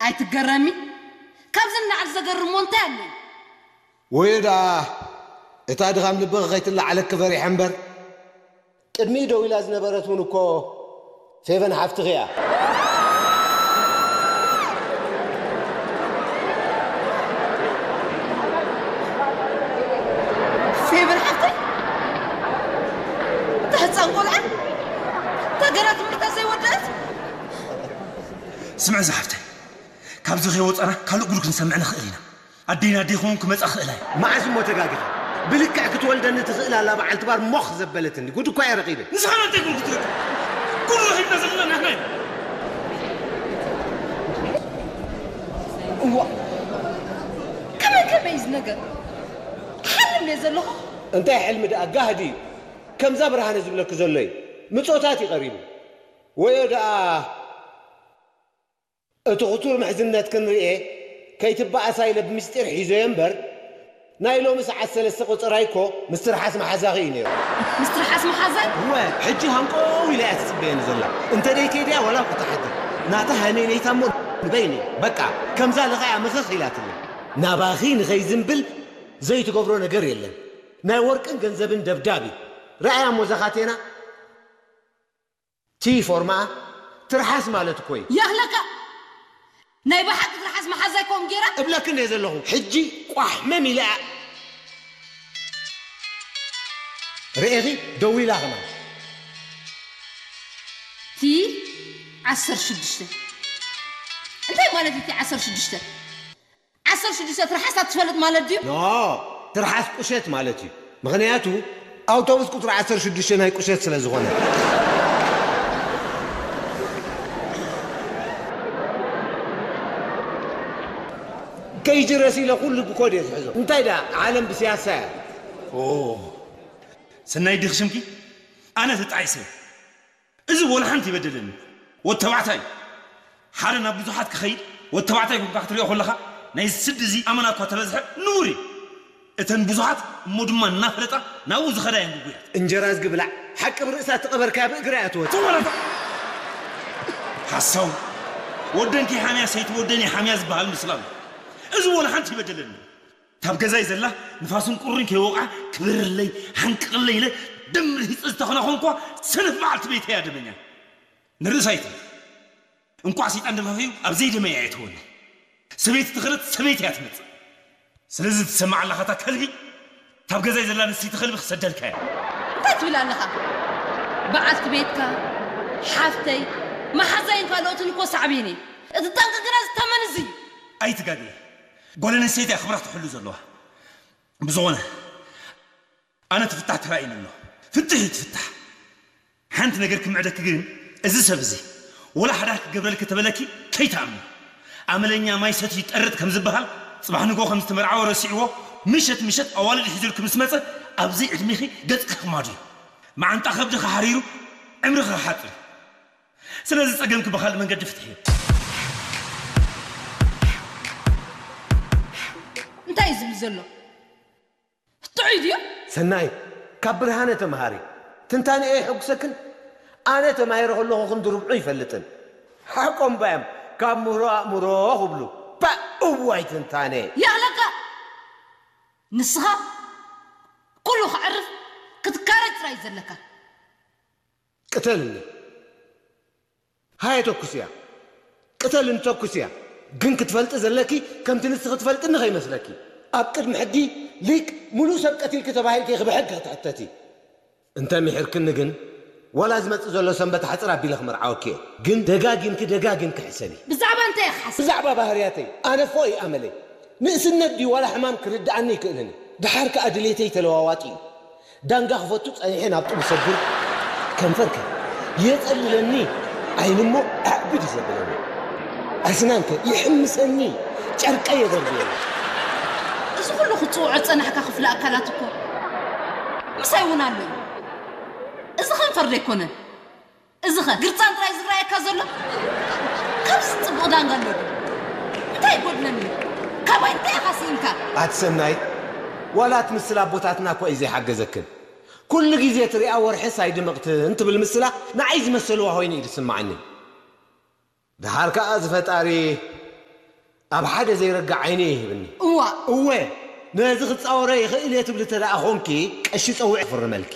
ኣይትገረሚ። ካብዚ ንላዕሊ ዘገርም እንታይ ኣሎ? ወዮ ደኣ እታ ድኻም ልብኺ ከይትለዓለኪ ፈሪሐ እምበር። ቅድሚኡ ደው ኢላ ዝነበረት እውን እኮ ፌቨን ሓፍትኺ እያ። ፌቨን ሓፍተይ? እታ ህፃን ቆልዓ? እታ ገና ትምህርታ ዘይወደአት? ስምዒ ዝሓፍተይ፣ ካብዚ ከይወፃና ካልእ ጉድ ክንሰምዕ ንኽእል ኢና። ኣዴና ኣዴ ክኸውን ክመፃ ክእላ እየ። መዓስ እሞ ተጋጊኻ? ብልክዕ ክትወልደኒ ትኽእል ኣላ በዓልቲ ባር ሞኽ ዘበለትኒ። ጉድ እኳ እየ ረኺበ። ንስኻ መን እንታይ ጉድ ክትረክብ? ጉድ ረኺብና ዘለና ንሕና ኢና። እዋ፣ ከመይ ከመይ እዩ እዚ ነገር? ሓልም እየ ዘለኹ። እንታይ ሕልሚ ደኣ? ጋህዲ እዩ። ከምዛ ብርሃነ ዝብለኪ ዘሎ እዩ። ምጾታት እዩ ቀሪቡ። ወዮ ደኣ እቲ ክቱር ምሕዝነት ክንርኤ ከይትበኣሳ ኢለ ብምስጢር ሒዘዮ እምበር፣ ናይ ሎሚ ሰዓት ሰለስተ ቆጸራይ እኮ ምስ ትርሓስ መሓዛኺ እዩ ነይሩ። ምስ ትርሓስ መሓዛይ? እወ፣ ሕጂ ሃንቆው ኢላ እያ ትጽበየኒ ዘላ። እንተ ደይከይድያ ዋላ ክትሓድር። ናታ ሃነይነይታ እሞ ንበይነይ። በቃ፣ ከምዛ ለኻያ ምኽኽ ኢላትለይ። ናባኺ ንኸይዝንብል ዘይትገብሮ ነገር የለን። ናይ ወርቅን ገንዘብን ደብዳብ እዩ። ረኣያ እሞ እዛ ካቴና። ቲ ፎርማ ትርሓስ ማለት እኮ እዩ። ያኽለካ ናይ ብሓቂ ትርሓስ መሓዛይ ከምኡ ገይራ? እብለክን እየ ዘለኹ። ሕጂ ቋሕመም ኢለ እያ። ርኤኺ ደው ኢላ ኸማን። ቲ ዓሰርተ ሽዱሽተ እንታይ ማለት እዩ? ቲ ዓሰርተ ሽዱሽተ ዓሰርተ ሽዱሽተ ትርሓስ ኣትፈልጥ ማለት ድዩ? ኖ፣ ትርሓስ ቁሸት ማለት እዩ። ምኽንያቱ ኣውቶቡስ ቁፅሪ ዓሰርተ ሽዱሽተ ናይ ቁሸት ስለ ዝኾነ። ከይጅረስ ኢለ ኩሉ ብኮድ እየ ዝሕዞ። እንታይ ደኣ ዓለም ብስያሳ እያ። ኦ፣ ሰናይ ዲኺ ሽምኪ? ኣነ ተጣዒሰ። እዚ ወላ ሓንቲ ይበደለኒ። ወዲ ተባዕታይ ሓደ ናብ ብዙሓት ክኸይድ፣ ወዲ ተባዕታይ ኮንካ ክትሪኦ ከለኻ፣ ናይ ስዲ እዚ ኣመና እኳ ተበዝሐ ንቡር እዩ። እተን ብዙሓት እሞ ድማ እናፈለጣ ናብኡ ዝኸዳ እየን ግጉያት። እንጀራ ዝግብላዕ ሓቂ ብርእሳ ትቐበርካያ ብእግራ እያ ትወጽእ። ተወረታ ሓሳው። ወደን ከይሓምያ ሰይቲ ወደን ይሓምያ ዝበሃል ምስላ ኣሎ። እዚ ወላ ሓንቲ ይበደለኒ። ካብ ገዛይ ዘላ ንፋስን ቁርን ከይወቕዓ ክብርለይ፣ ሓንቅቕለይ ኢለ ደም ርሂጸ ዝተኾነ ኾንኳ ሰነፍ በዓልቲ ቤተይ እያ ደመኛ። ንርእሳ ኣይትብል። እንቋዕ ሰይጣን ደፋፊኡ ኣብ ዘይደመያ እያ ትወኒ። ሰበይቲ ትኽረድ ሰበይቲ እያ ትመጽእ። ስለዚ ትሰማዕ ኣለኻ እታ ከልቢ፣ ካብ ገዛይ ዘላ ንስቲ ከልቢ ክሰደልካ እያ። እንታይ ትብል ኣለኻ? በዓልቲ ቤትካ፣ ሓፍተይ፣ መሓዛይን ካልኦትን እኮ ሳዕቤን እየ። እቲ ጠንቂ ግና ዝተመን እዚ እዩ። ኣይትጋገ። ጓል ኣንስተይቲ እያ ክብራ ትሕሉ ዘለዋ። ብዝኾነ፣ ኣነ ትፍታሕ ተራእዩኒ ኣሎ። ፍትሕ እዩ ትፍታሕ። ሓንቲ ነገር ክምዕደኪ ግን፣ እዚ ሰብ እዚ ወላ ሓዳር ክገብረልኪ ተበለኪ ከይትኣምኒ። ኣመለኛ ማይ ሰትዩ ይጠርጥ ከም ዝበሃል፣ ጽባሕ ንግሆ ከም ዝተመርዓወ ረሲዕዎ፣ ምሸት ምሸት ኣዋልድ ሒዙልኪ ምስ መጸ፣ ኣብዚ ዕድሜኺ ገጽኪ ክማዱ እዩ። መዓንጣ ከብድኺ ሓሪሩ ዕምርኺ ክሓጽር እዩ። ስለዚ ጸገምኪ ብኻልእ መንገዲ ፍትሕዮ። እንታይ እዩ ዝብል ዘሎ? ጥዑይ ድዩ? ሰናይ፣ ካብ ብርሃነ ተምሃሪ። ትንታኔ ኣየሐጉሰክን? ኣነ ተማሂረ ከለኹ ክንዲ ርብዑ ይፈልጥን። ሓቆም ባዮም ካብ ምህሮ ኣእምሮ ክብሉ። ፓእ፣ እዋይ ትንታኔ። ያኽለካ! ንስኻ ኩሉ ከዕርፍ ክትካረጅ ጥራይ እዩ ዘለካ። ቅተልኒ። ሃየ ተኩስያ። ቅተልኒ ተኩስያ። ግን ክትፈልጢ ዘለኪ ከምቲ ንስኺ ትፈልጥኒ ከይመስለኪ። ኣብ ቅድሚ ሕጊ ሊቅ ምሉእ ሰብ ቀቲልኪ ተባሂልኪ ኢኺ ብሕጊ ክትሕተቲ። እንተ ምሒርክኒ ግን ዋላ ዝመጽእ ዘሎ ሰንበት ሓጽር ኣቢለ ክመርዓወኪ እየ። ግን ደጋጊምኪ ደጋጊምኪ ሕሰቢ። ብዛዕባ እንታይ ኢኻ ሓስብ? ብዛዕባ ባህርያተይ። ኣነ ፎእ እዩ ኣመለይ። ንእስነት ድዩ ዋላ ሕማም ክርድኣኒ ይክእልን እዩ። ደሓር ከኣ ድሌተይ ተለዋዋጢ እዩ። ዳንጋ ክፈቱ ጸኒሐ ናብ ጡብ ሰግር ከንፈርከ የጸልለኒ ዓይንሞ ኣዕብድ እዩ ዘብለኒ። ኣስናንከ ይሕምሰኒ ጨርቀ የደርብየኒ። እዚ ኩሉ ክትጽውዖ ዝጸናሕካ ክፍሊ ኣካላት እኮ ምሳይ እውን ኣሎ እዩ። እዚ ከንፈር ዶ ኣይኮነን? እዚኸ ግርጻን ጥራይ ዝረኣየካ ዘሎ? ካብዚ ጽቡቕ ዳንጋ ኣሎ ድዩ? እንታይ ይጎድለኒ? ካባይ እንታይ ኢኻ ስኢንካ? ኣቲ ሰናይ፣ ዋላ እቲ ምስላ ኣቦታትና እኳ እዩ ዘይሓገዘክን። ኩሉ ግዜ ትሪኣ ወርሕስ ኣይድምቕትን ትብል ምስላ ንዓይ ዝመሰልዋ ኮይኑ እዩ ዝስምዓኒ። ደሓር ከኣ እዚ ፈጣሪ ኣብ ሓደ ዘይረግእ ዓይኒ ይህብኒ። እዋ፣ እወ፣ ነዚ ክጻወሮ ይኽእል እየ ትብሊ እንተ ደኣ ኾንኪ፣ ቀሺ ጸውዒ ክፍርመልኪ።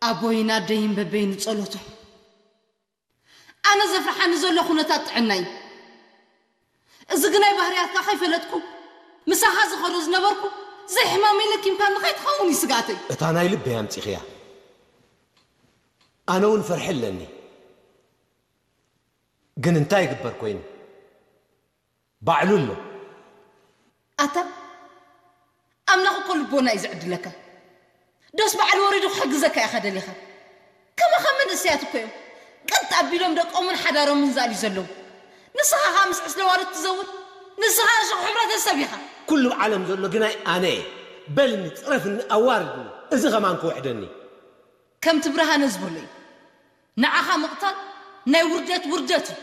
ኣቦይን ኣደይን በበይኑ ጸሎቶም። ኣነ ዘፍርሓኒ ዘሎ ኩነታት ጥዕና እዩ። እዚ ግናይ ባህርያትካ ከይፈለጥኩ፣ ምሳኻ ዝኸዶ ዝነበርኩ፣ ዘይሕማመይ ለኪምካኒ ከይትኸውን እዩ ስግኣተይ። እታ ናይ ልበይ ኣምጺኽያ። ኣነ እውን ፍርሒ ኣለኒ። ግን እንታይ ይግበር ኮይኑ? ባዕሉ ኣሎ። ኣታ፣ ኣምላኽ እኮ ልቦና እዩ ዝዕድለካ። ዶስ በዓል ወሪዱ ክሕግዘካ ኢኻ ደሊኻ? ከማኻ መንእሰያት እኮ እዮም። ቀጥ ኣቢሎም ደቆምን ሓዳሮምን ዝኣልዩ ዘለዉ። ንስኻ ኸኣ ምስ ዕስለ ዋርት ትዘውር? ንስኻ ዕሾኽ ሕብረተሰብ ኢኻ። ኩሉ ኣብ ዓለም ዘሎ ግናይ ኣነ እየ። በልኒ፣ ጽረፍኒ፣ ኣዋርድኒ። እዚ ኸማን ክውሕደኒ። ከምቲ ብርሃነ ዝበሎ እዩ። ንዓኻ ምቕታል ናይ ውርደት ውርደት እዩ።